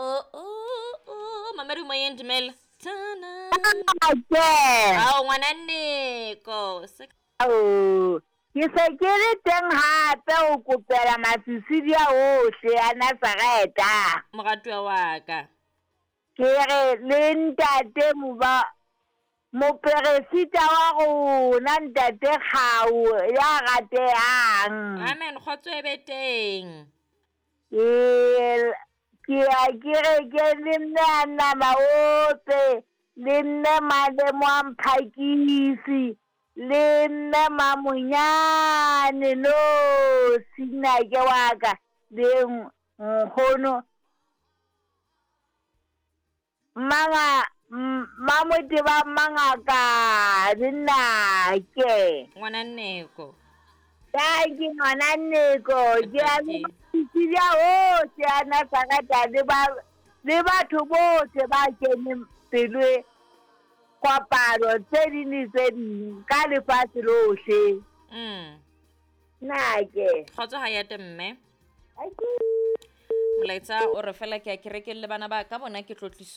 Oh oh oh, mamedi moyeng dumela. Tana. Ake. Ao ngwana Nneko. Se Ao, ke se ke le teng hape ho kopela masisidi a ohle a Nazareta. Moratuwa wa ka. Ke re le ntate moba moperesita wa rona ntate Kgau ya ratehang. Amen, kgotso e be teng. Ke ke ya kerekeng le mme a nama ope le mme Malemo a Mphakisi le mme Mamonyane no sinake wa ka le nkgono Mmanga Mmamoteba Mmangaka le nnake. Ngwana Nneko. Tanki ngwana Nneko ke a le Sicilia ohle a Nazareta le ba le batho bohle ba keneng pelo e kopano tse ding le tse ding ka lefatshe lohle. Nake. Kgotso ha ya te mme. Molaetsa o re fela ke ya kerekeng le bana ba ka bona ke tlotliso.